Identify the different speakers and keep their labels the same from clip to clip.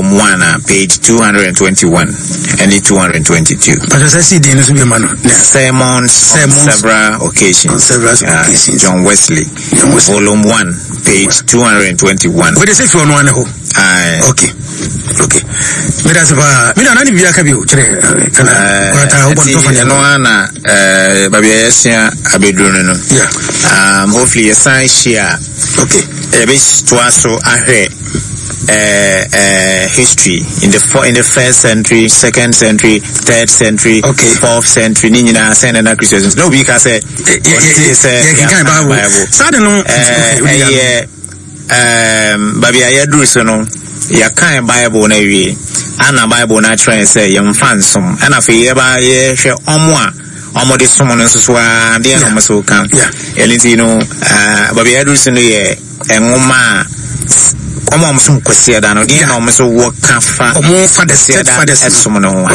Speaker 1: volume 1 a page 221 ɛne 222.
Speaker 2: Pàtó sɛ si din no so bi ma no.
Speaker 1: Sermons, Sermons on several occasions.
Speaker 2: On several occasions.
Speaker 1: John Wesley. John Wesley. Volume 1 page 221.
Speaker 2: Wode sɛ fi ɔno ane hɔ.
Speaker 1: Aye.
Speaker 2: Okay. Okay. Meda se paa. Meda na ne biribi aka bio kyerɛ kana kwata wobɔ no tɔfa ne
Speaker 1: ɛno ara na baabi a yɛasua abɛduru no no.
Speaker 2: Yeah.
Speaker 1: Hopefully yɛsan hyia.
Speaker 2: Okay.
Speaker 1: Yɛbɛtoa so ahwɛ history in the for, in the first century, second century, third century,
Speaker 2: okay.
Speaker 1: fourth century ne nyinaa sɛn na na Christians na obi ka sɛ ɔte sɛ
Speaker 2: yɛkenkan Bible. Saa de no
Speaker 1: ɛyɛ baabi a yɛaduru so no, yɛakan Bible no awie, ana Bible no akyerɛ yɛn sɛ yɛmfa nsom. Ɛna afei yɛba yɛhwɛ ɔmo a ɔmo de som no nso so ara, deɛ na ɔmo so ka. Ɛno nti no, baabi a yɛaduru so no yɛ nwoma a ɔmo a ɔmo som Kwasiada no, deɛ na ɔmo so wɔ ka fa
Speaker 2: ɔmo fathers, church fathers
Speaker 1: ɛsom no ho.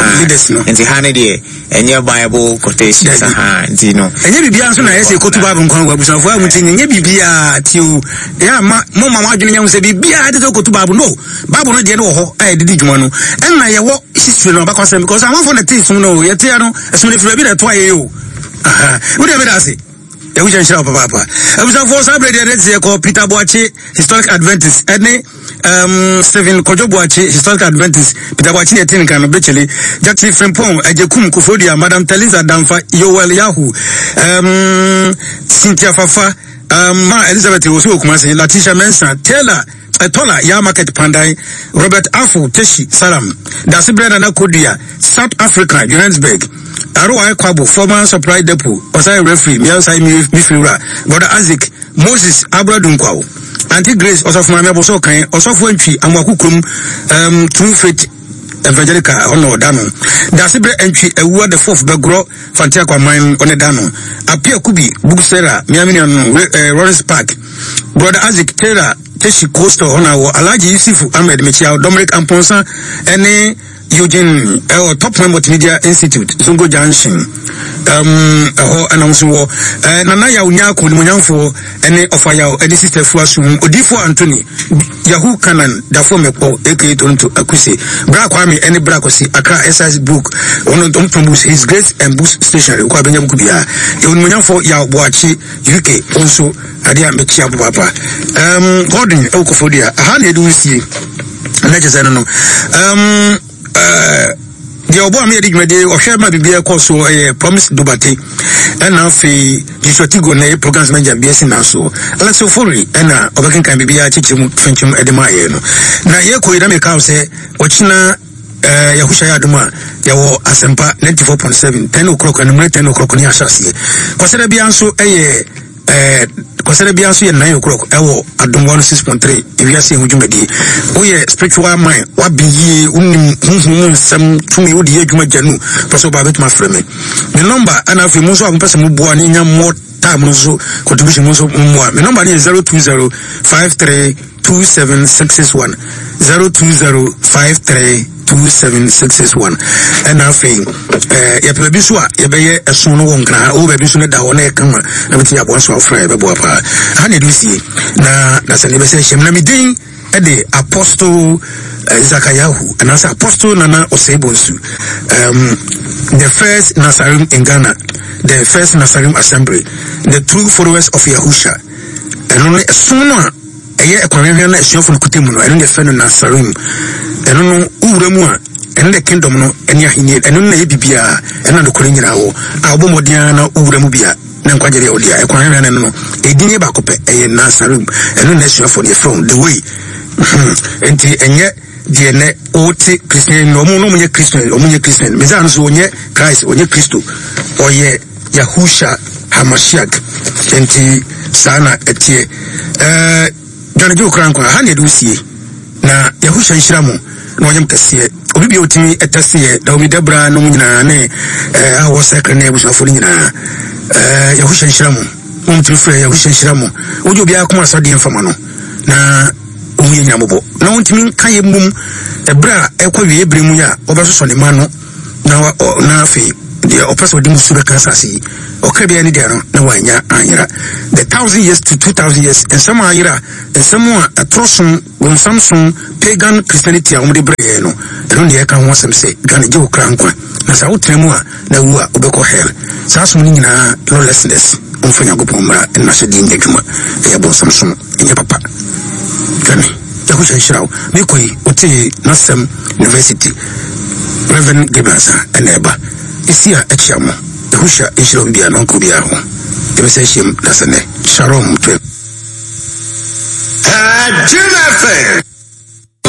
Speaker 1: Nti ha ne deɛ Ɛnyɛ Bible quotations ahaa nti no.
Speaker 2: Ɛnyɛ biribiara nso na ɛyɛ sɛ ɛkɔtu Bible nkwan wɔ abusuafoɔ a mo ti nyɛ biribiara ti o. Ɛyɛ ama mo ma mo adwene nyɛ ho sɛ biribiara de sɛ wokɔtu Bible no. Bible no deɛ no wɔ hɔ a yɛde di dwuma no. Ɛnna yɛwɔ history no abakɔsɛm because amanfoɔ na ɛte som no o. Yɛte no ɛsom no firi baabi na ɛto ayɛ o. Aha. Wo deɛ meda ase. Yahuhyɛ nhyira wo papaapa. Abusuafoɔ saa berɛ deɛ ne teɛ kɔ Peter Boakye Historic Adventist ɛne um, Stephen Kwadwo Boakye Historic Adventist Peter Boakye ne ɛte nka no Bekyele Jackson Frimpong Agyekum Koforidua Madam Teliza Damfa Yoel Yahu um, Cynthia Fafa um, Ma Elizabeth Osu Okumase Latisha Mensah Taylor Ɛtɔla, Yah Market Pandan, Robert Afo, Teshi, Salam, Dasebrɛ Nana Kodua, South Africa, Johannesburg, RY Kwabo, former supply depot, Ɔsan referee, Mia Ɔsan Mifiri Wura, Brother Isaac, Moses Abra Dunkwaw, Auntie Grace, Ɔsɔfo Maame Aboso Kan, Ɔsɔfo Antwi, Amoako Kurom, um, True Faith Evangelical, ɛhɔ na ɔda no. Dasebrɛ Antwi, Awua the Fourth, Bɛgorɔ, Fanti Akwaman, ɔne da no. Apia Kubi, Bugsera, Mia Menua no, eh, Lawrence Park, Brother Isaac Taylor Teshi Coastal hɔ na wɔ Alhaji Yusufu Ahmed Mekyia Dominic Amponsa ɛne Eugene ɛwɔ Top Man Multimedia Institute Zongo Junction ɛhɔ ɛna nso wɔ Nana Yaw Nyako Nimonyamfoɔ ɛne Ɔfa Yaw ɛne Sister Fua Sum Odiifoɔ Anthony Yahoo Kanan Dafo Mɛkpɔ aka Toronto Akuse Bra Kwame ɛne Bra Kwasi Accra SIS Book wɔn ɔmo books His Grace and Books Stationery wokɔ abɛnya buku biara Onimuonyamfoɔ Yaw Boakye UK wo nso adeɛ a mekyia wo papaapa um, Gordon ɛwɔ Koforidua aha na yɛde wo sie na kyɛ sɛ no no um, uh, deɛ ɔbɔ a meyɛde dwumadie ɔhwɛ ma biribiara kɔ so ɛyɛ Promise Dobate ɛna afei Joshua Tigo na ɛyɛ programs manager BSc na so Alex Ofori ɛna ɔbɛkenkan biribiara kyekyere mu fɛnkyɛm ɛde ma yɛ no na yɛkɔ yi na meka wo sɛ ɔkyena Eh, Yahusha yɛ adom a, yɛwɔ Asɛmpa 94.7, 10 o'clock, anwummerɛ 10 o'clock ne ahyɛ aseɛ. Kwasada biara nso ɛyɛ eh, Kwasada biara nso yɛ 9 o'clock ɛwɔ Adom 106.3 ewiase ɛho dwumadie. Woyɛ spiritual mind, wabe yie, wonim honhom mu nsɛm tumi, wode yɛ adwuma gya nu, pɛ sɛ wobaa bɛtumi afrɛ me. Me nɔmba ɛna afei mo nso a mopɛ sɛ moboa ne nya more time no nso contribution mo nso mmoa. Me nɔmba no yɛ 020 53 27661 0205327661 ɛna afei ɛɛ yɛpɛ baabi nso a yɛbɛyɛ ɛso no wɔ nkran ha ɔwɔ baabi nso no da hɔ na yɛ kama na bɛtumi aboa so afra yɛbɛboa paa ha na ɛde sie na na sɛ ne bɛsɛ hyɛm na me din ɛde apostle eh, zakayahu anaasɛ apostle nana osei bonsu um, the first nasarim in ghana the first nasarim assembly the true followers of yahusha ɛno no ɛsom no a ɛyɛ ɛkwan hwehwɛ na asuafo no kuta mu no, ɛno na yɛfrɛ no Nasarim. Ɛno no, wowura mu a, ɛno na kingdom no ɛne ahenni, ɛno na ɛyɛ biribiara, ɛno na nokorɛ nyinaa wɔ. A wobɔ mmɔden ara na wowura mu bi a, na nkwagye deɛ wode a, ɛkwan hwehwɛ no ɛno no, ɛdin yɛ baako pɛ, ɛyɛ Nasarim. Ɛno na asuafo no yɛfrɛ wɔn, the way. Hmm. Nti ɛnyɛ deɛ nɛ wote Christian no, ɔmo no ɔmo nyɛ Christian, ɔmo nyɛ Christian. Messiah no so ɔnyɛ Christ, ɔnyɛ Kristo, ɔyɛ Yahusha Hamashiach. Enti saa na ɛteɛ. Ɛɛ Dwane gye wo kra nkwa. Ha na yɛde wo sie. Na Yahusha nhyira mo na ɔnyɛ mo kɛseɛ. Obi bia otumi ɛtɛseɛ, Naomi Debra nom nyinaa ne ɛɛ a wɔ sɛkre ne abusuafo no nyinaa. Ɛɛ Yahusha nhyira mo. Mo mtumi frɛ Yahusha nhyira mo. Wogye obiara koma sɔ deɛ mfama no. Na ohun yɛ nyina mɔbɔ. Na ontumi nka yɛ mmom ɛberɛ a ɛkɔ wie berɛ mu yi a wɔbɛsosɔ ne ma no. Na na afei. Deɛ ɔpɛ sɛ ɔde musu bɛka asase yi, ɔkra biara ne deɛ no, na wanya anyera. The thousand years to 2000 years, nsɛm a ayera, nsɛm a ɛtorɔ som, bonsam som, pagan Christianity a wɔde brɛ yɛn no, ɛno na yɛka ho asɛm sɛ dwane gye wo kra nkwa. Na sɛ wotena mu a, na wu a, wobɛkɔ hell. Saa som no nyinaa, lawlessness, wɔmfa Nyankopɔn mmara ne n'ahyɛdeɛ nyɛ adwuma, ɛyɛ bonsam som, ɛnyɛ papa. Dwane. Yahushua nhyira wo. Mekɔ yi, wotee n'asɛm University. Reverend Gabriel Ansah ɛna ɛba. Esi a ɛkyea mo. Yahushua nhyira obi biara na ɔnka obiara ho. Yɛbɛsan ahyiam dasɛ nnɛ. Shalom to
Speaker 3: Jim FM.